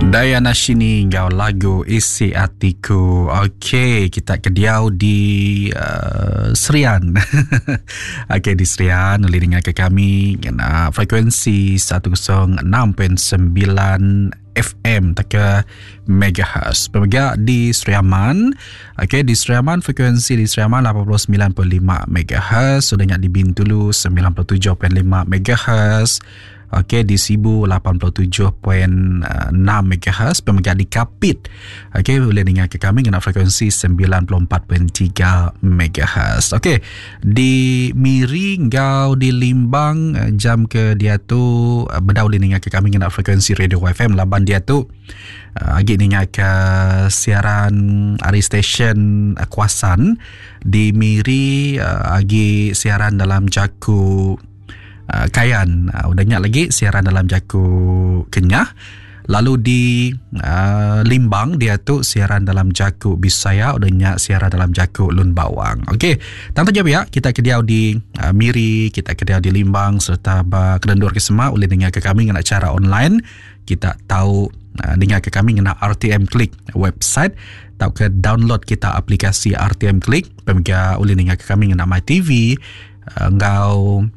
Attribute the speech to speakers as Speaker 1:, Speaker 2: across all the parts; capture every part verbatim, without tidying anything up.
Speaker 1: Dayana Shini enggau lagu Isi Atiku. Okey, kita ke diau di uh, Serian. Okey, di Serian boleh dengar ke kami ngena frekuensi seratus enam perpuluhan sembilan F M tauka megahertz. Pemega di Sri Aman. Okey, di Sri Aman, frekuensi di Sri Aman lapan puluh semilan perpuluhan lima megahertz. Sudah di Bintulu sembilan puluh tujuh perpuluhan lima megahertz. Okey, di Sibu lapan puluh tujuh perpuluhan enam megahertz, pemega di Kapit. Okey, boleh dengar ke kami ngena frekuensi sembilan puluh empat perpuluhan tiga megahertz. Okey, di Miri ngau di Limbang eh, jam ke dia tu eh, bedau boleh dengar ke kami ngena frekuensi radio F M laban dia tu uh, agi dengar ke siaran ari stesen uh, Kuasan di Miri, uh, agi siaran dalam jaku uh, Kayan, uh, udah nyak lagi siaran dalam jaku Kenyah. Lalu di uh, Limbang dia tu siaran dalam jaku Bisaya, udah nyak siaran dalam jaku Lun Bawang. Okey, tentu je ya kita ke diau di uh, Miri, kita ke diau di Limbang serta ba kelendur ke semua boleh dengar ke kami ngena cara online. Kita tahu uh, dengar ke kami ngena R T M Klik website atau ke download kita aplikasi R T M Klik. Pemega boleh dengar ke kami ngena My T V uh, ngau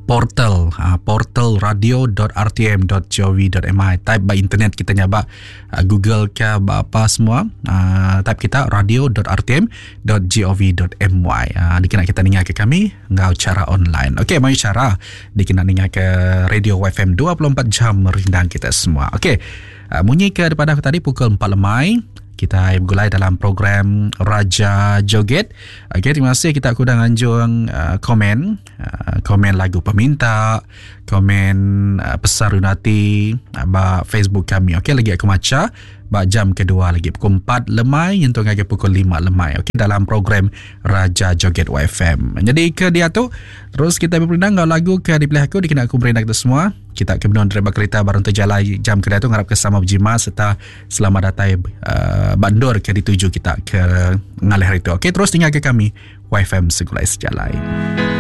Speaker 1: portal uh, portal radio dot R T M dot gov dot my. Type by internet kita nyaba uh, Google ke apa semua, uh, type kita radio dot R T M dot gov dot my, uh, dikena kita dengar ke kami ngau cara online. Okey, mai cara dikena dengar ke radio Y F M dua puluh empat jam merindang kita semua. Okey, uh, munyi ke daripada aku tadi, pukul empat lemai kita bergulai dalam program Raja Joget. Okey, terima kasih kita aku dah nganjung uh, komen, uh, komen lagu peminta, komen uh, pesan runati uh, ba Facebook kami. Okey, lagi aku maca ba jam kedua lagi pukul empat lemai untuk lagi pukul lima lemai. Okey, dalam program Raja Joget Y F M. Jadi ke dia tu terus kita berperindang ngau lagu ke dipilih aku dikena aku berindang kita semua. Kita ke benua driver kereta barang terjalai jam kedua tu, ngarap ke sama berjimat serta selamat datang uh, bandur ke dituju kita ke ngalih hari tu. Okey, terus tinggal ke kami Y F M Segulai Sejalai.